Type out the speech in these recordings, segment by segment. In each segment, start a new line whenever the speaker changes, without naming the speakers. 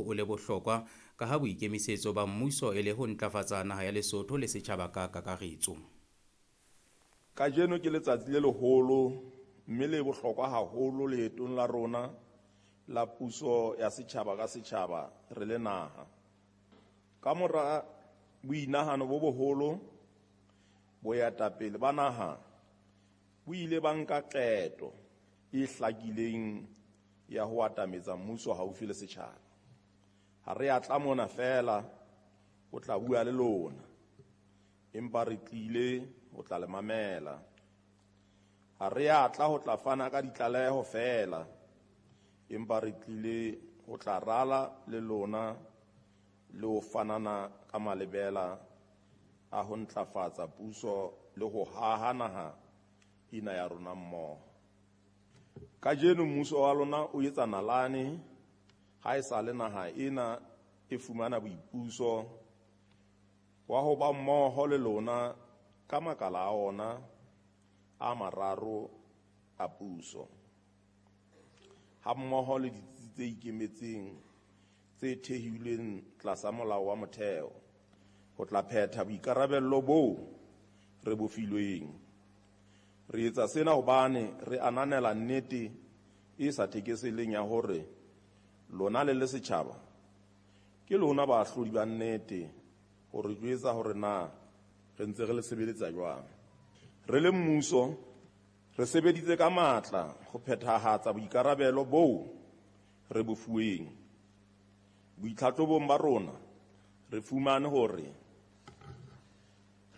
oo o le bohlokwa kaha boikemisetso ba mmuso e le ho ntlafatsa naha ya Lesotho le setjhaba ka kakaretso.
Kajeno ke letsatsi le leholo mme le bohlokwa haholo leetong la rona la puso ya setjhaba ka setjhaba re le naha. Kamora boinahano bo boholo, boetapele ba naha bo ile ba nka qeto e hlakileng ya ho atametsa mmuso haufi le setjhaba. Ha re a tla mona feela ho tla bua le lona, empa re tlile ho tla le mamela. Ha re a tla ho tla fana ka ditlaleho feela, empa re tlile ho tla rala le lona le ho fanana ka malebela a ho ntlafatsa puso le ho haha naha ena ya rona mmoho. Kajeno mmuso wa lona o etsa nalane ha e sa le naha ena e fumana boipuso wa ho ba mmoho le lona ka makala a ona a mararo a puso, hammoho le ditsi tse ikemetseng tse thehilweng tlasa molao wa motheo, ho tla phetha boikarabello boo re bo filweng. Re etsa sena hobane re ananela nnete e sa thekeseleng ya hore lona le le setjhaba ke lona baahlodi ba nnete ho re jwetsa hore na re ntse re le sebeletsa jwang. Re le mmuso re sebeditse ka matla ho phethahatsa boikarabelo boo re bo fuweng. Boitlhatlhobong ba rona re fumane hore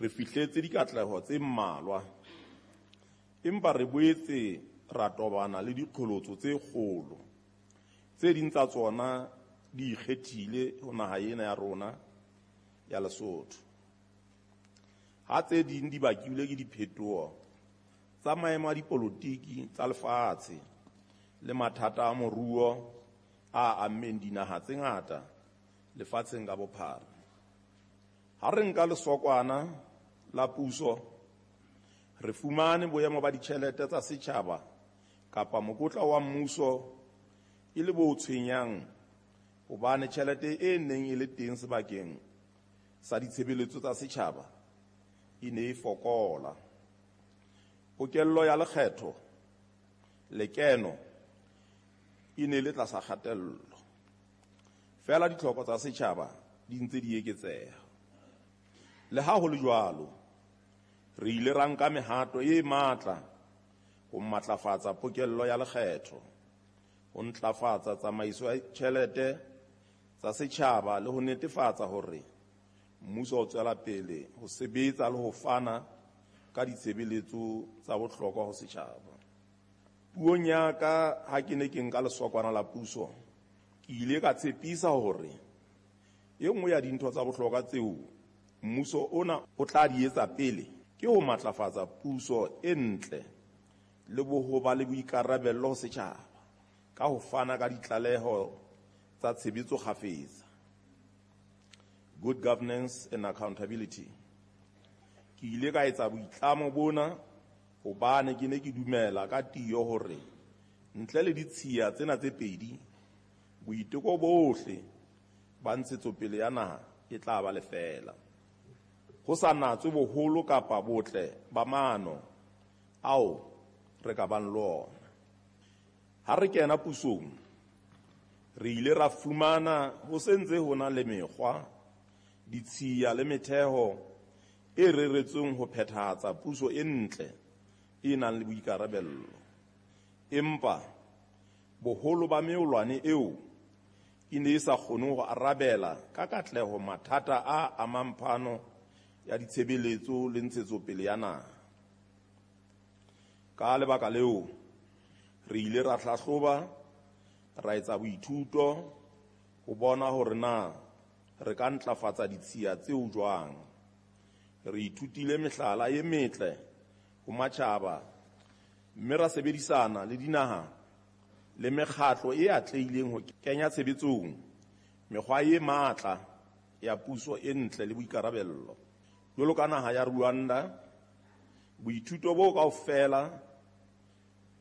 re fihletse dikatleho tse mmalwa, empa re boetse ra tobana le diqholotso tse kgolo. Tse ding tsa tsona di ikgethile ho naha ena ya rona ya Lesotho, ha tse ding di bakilwe ke diphetoho tsa maemo a dipolotiki tsa lefatshe le mathata a moruo a ammeng dinaha tse ngata lefatsheng ka bophara. Ha re nka lesokwana la puso, re fumane boemo ba ditjhelete tsa setjhaba kapa mokotla wa mmuso e le bo tshwenyang hobane tjhelete e neng e le teng sebakeng sa ditshebeletso tsa setjhaba e ne e fokola. Pokello ya lekgetho lekeno e ne le tlasa kgatello, feela ditlhoko tsa setjhaba di ntse di eketseha. Le ha ho le jwalo, re ile ra nka mehato e matla ho matlafatsa pokello ya lekgetho, ho ntlafatsa tsamaiso ya tjhelete tsa setjhaba le ho netefatsa hore mmuso o tswela pele ho sebetsa le ho fana ka ditshebeletso tsa bohlokwa ho setjhaba. Puong ya ka ha ke ne ke nka lesokwana la puso, ke ile ka tshepisa hore e nngwe ya dintho tsa bohlokwa tseo mmuso ona o tla di etsa pele ke ho matlafatsa puso e ntle le ho ba le boikarabello ho setjhaba ka ho fana ka ditlaleho tsa tshebetso kgafetsa, good governance and accountability. Ke ile ka etsa boitlamo bona hobane ke ne ke dumela ka tiyo hore ntle le ditshiya tsena tse pedi, boiteko bohle ba ntshetsopele ya naha e tla ba lefeela, ho sa natswe boholo kapa botle ba maano ao re ka bang le ona. Ha re kena pusong, re ile ra fumana ho se ntse ho na le mekgwa, ditshiya le metheo e reretsweng ho phethahatsa puso e ntle e nang le boikarabello. Empa boholo ba meolwane eo e ne e sa kgone ho arabela ka katleho mathata a amang phano ya ditshebeletso le ntshetsopele ya naha. Ka lebaka leo, re ile ra hlahloba, ra etsa boithuto ho bona hore na re ka ntlafatsa ditshiya tseo jwang. Re ithutile mehlala e metle ho matjhaba mme ra sebedisana le dinaha le mekgatlo e atlehileng ho kenya tshebetsong mekgwa e matla ya puso e ntle le boikarabello. Jwalo ka naha ya Rwanda, boithuto bo kaofela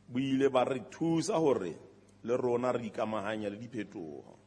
bo ile ba re thusa hore le rona re ikamahanye le diphetoho.